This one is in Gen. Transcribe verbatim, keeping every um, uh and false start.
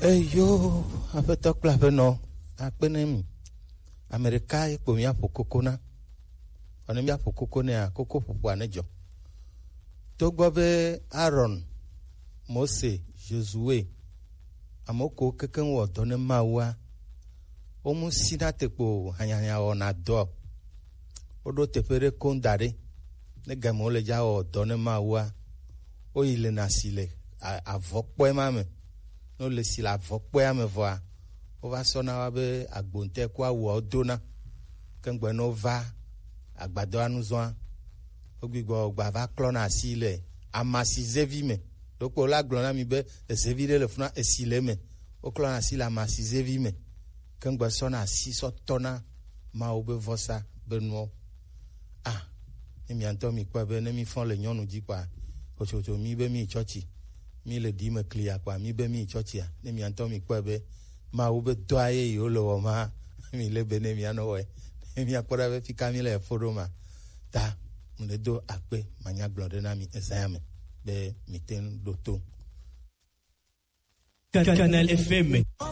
Eyo, aƒetɔ kple aƒenɔ, akpe ne mi. Ame ɖeka ye kpo míaƒo koko na. Vɔ ne míaƒo koko nɛa, koko ƒoƒoa ne dzɔ. Togbɔ be Aaron, Mose, Josue, ame kewo kekeŋ wɔ dɔ ne Mawua, womu sina te kpo hanyahanya wɔna dɔ. Woɖo teƒe ɖe koŋ da ɖe. Ne game wole dza wɔ dɔ ne Mawua, woyi lena si le a-, avɔkpɔe ma me. Ne wole si le avɔkpɔea me vɔa, wova sɔna wa be agbonte ku awua wodona. Ke ŋgbe ne wova agbadɔa nu zɔa, wogbigbɔ gba va klɔna asi le amasizevi me. Ɖokpo la gblɔ na mi be ezevi ɖe le funa esi le eme. Woklɔna asi le amasizevi me. Ke ŋgbe sɔna asi sɔ tɔna Mawu be vɔsa be nuwo. Ah, ne mia ŋutɔ mi kpɔe be ne mi fɔ le nyɔnu dzi kpɔa, hotsotso mi be mi yi tsɔtsi, mi le ɖi me kli ya kpɔa, mi be mi yi tsɔtsia, ne mia ŋutɔ mi kpɔe be Mawu be dɔa ye yewo le wɔ ma, mi le be ne mia nɔ wɔe, ne mia kpɔ ɖa be fika mi le efo ɖo ma. Ta, mu le do akpe, manya gblɔ ɖe na mi ezã ya me, be mi te ŋu ɖo to. Canal F M.